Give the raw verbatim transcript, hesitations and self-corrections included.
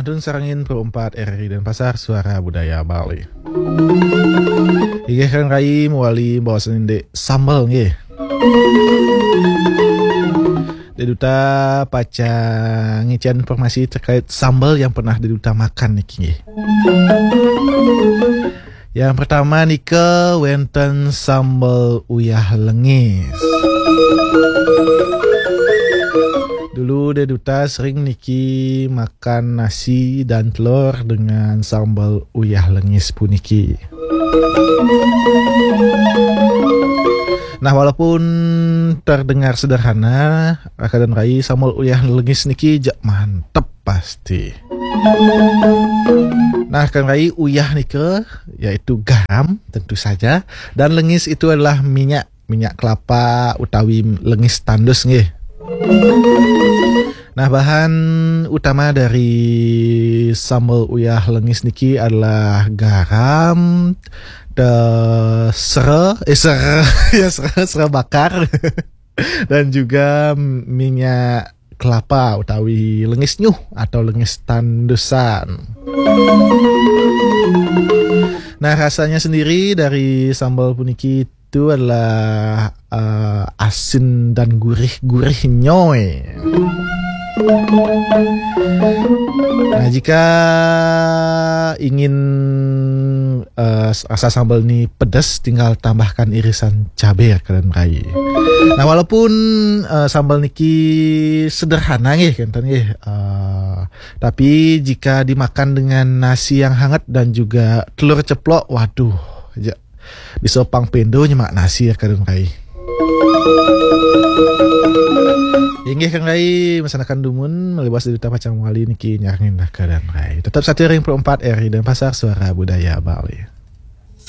Dun sarengin Pro empat R R I Denpasar, Suara Budaya Bali. Inggih, Kang Rai, mawali baosan indik sambel, nggih. Deduta pacang ngicén informasi terkait sambel yang pernah Deduta makan niki, nggih. Yang pertama nika wénten sambel uyah lengis. Dulu Deduta sering niki makan nasi dan telur dengan sambel uyah lengis puniki. Nah, walaupun terdengar sederhana, Raka dan Rai, sambel uyah lengis niki jak mantep pasti. Nah, Kang Rai, uyah nika yaitu garam, tentu saja, dan lengis itu adalah minyak, minyak kelapa utawi lengis tandus, nggih. Nah, bahan utama dari sambel uyah lengis niki adalah garam, te-, sera, eh, sera, ya, sera, sera bakar, dan juga minyak kelapa utawi lengis nyuh atau lengis tandusan. Nah, rasanya sendiri dari sambal puniki itu adalah, eh, asin dan gurih-gurih nyoy. Nah, jika ingin, eh, rasa sambal ni pedas, tinggal tambahkan irisan cabai, Kak dan Rai. Nah, walaupun, eh, sambal niki sederhana, nggih, kenten, nggih. Eh, tapi jika dimakan dengan nasi yang hangat dan juga telur ceplok, waduh, ja-, bisa pang pindo nyemak nasi, ya, Kak dan Rai. Inggih, Kang Rai, masanakan dumun, malih baos Deduta pacang mawali niki nyarengin Kak dan Rai. Tetap satia ring Pro empat R R I Denpasar, Suara Budaya Bali.